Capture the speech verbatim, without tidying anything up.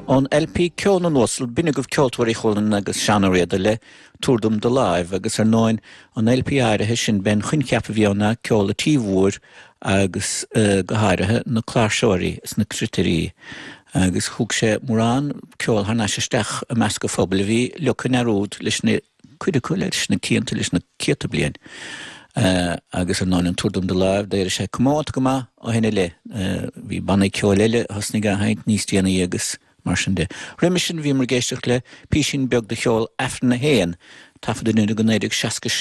Ón LP Ceol na nUasal b'in agaibh Ceoltóirí Chualann agus Seán Ó Riada le Tabhair Dom Do Láimh agus ar ndóigh an LP áirithe sin b'é an coincheap a bhí ann ná ceol an tí mhóir agus uh, go háirithe na cláirseoirí is na cruitirí. agus thug sé mórán ceol thar n-ais isteach i measc an phobail a bhí ligthe i ndearúd leis na cuid acu leis na cianta leis na céadta bliain. Uh, agus ar ndóigh an Tabhair Dom Do Láimh d'éirigh sé comónta go maith ó shin i leith uh, bhí bannaí ceoil eile thosnaigh á sheinnt níos déanaí agus mar sin de. Roimhe sin bhíomar ag éisteacht le píosín beag de cheol Aifreann a haon taifeadta go naoi déag seasca